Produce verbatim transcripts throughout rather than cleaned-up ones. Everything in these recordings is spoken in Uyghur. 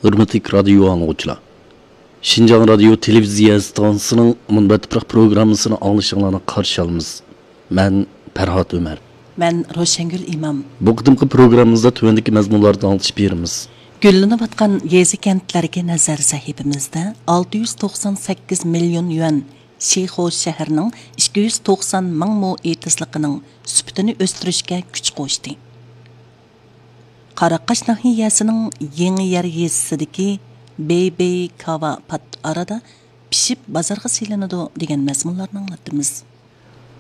ھۆرمەتلىك رادىيو ئاڭلىغۇچىلار! شىنجاڭ رادىيو تېلېۋىزىيە ئىستانسىسىنىڭ مۇنبەت تۇپراق پروگراممىسىنى ئاڭلىشىڭلارنى قارشى ئالىمىز. مەن پەرھات ئۆمەر. مەن روشەنگۈل ئىمام. بۇ قېتىمقى پروگراممىمىزدا تۆۋەندىكى مەزمۇنلارنى ئاڭلىتىش بېرىمىز. گۈللىنىۋاتقان يېزا-كەنتلەرگە نەزەر سەھىپىمىزدە ئالتە يۈز توقسان سەككىز مىليون يۈەن شىخۇ شەھىرىنىڭ ئىككى يۈز توقسان مىڭ مو ئېتىزلىقىنىڭ سۈپىتىنى ئۆستۈرۈشكە كۈچ قوشتى. قاراقاش ناھىيەسىنىڭ يېڭى يەر يېزىسىدىكى بېيبېي كاۋا پات ئارىدا پىشىپ بازارغا سېلىنىدۇ دېگەن مەزمۇنلارنى ئاڭلاتتىمىز.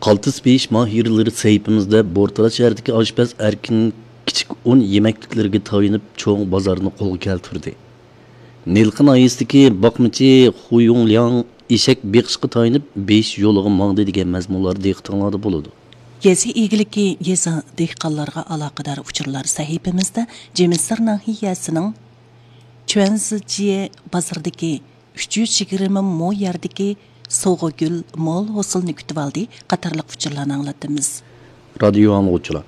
قالتىس پېيىش ماھىرلىرى سەھىپىمىزدە بورتالا شەھىرىدىكى ئاشپەز ئەركىن كىچىك ئۇن يېمەكلىكلىرىگە تايىنىپ چوڭ بازارنى قولغا كەلتۈردى. نىلقا ناھىيەسىدىكى باقمىچى خۇيۇڭلياڭ ئېشەك بېقىشقا تايىنىپ بېيىش يولىغا ماڭدى دېگەن مەزمۇنلار دىققىتىڭلاردا بولىدۇ. يېزا ئىگىلىكى، يېزا، دېھقانلارغا ئالاقىدار ئۇچۇرلار سەھىپىمىزدە جىمىسار ناھىيەسىنىڭ چۈەنزىجيې بازىرىدىكى ئۈچ يۈز يىگىرمە مو يەردىكى سوغۇگۈل مول ھوسۇلنى كۈتۈۋالدى قاتارلىق ئۇچۇرلارنى ئاڭلاتتىمىز. رادىيو ئاڭلىغۇچىلار!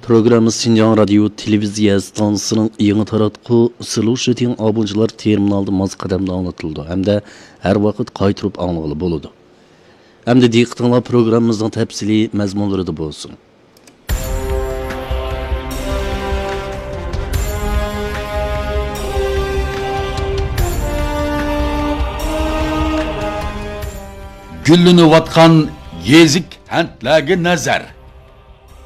پروگراممىمىز شىنجاڭ رادىيو تېلېۋىزىيە ئىستانسىسىنىڭ يېڭى تاراتقۇ سىلۇشىتىڭ ئابۇنچىلار تېرمىنالىدا ماس قەدەمدە ئاڭلىتىلىدۇ ھەمدە ھەر ۋاقىت قايتۇرۇپ ئاڭلىغىلى بولىدۇ. ئەمدى دىققىتىڭلار پروگراممىمىزنىڭ تەپسىلىي مەزمۇنلىرىدا بولسۇن. گۈللىنىۋاتقان يېزا-كەنتلەرگە نەزەر.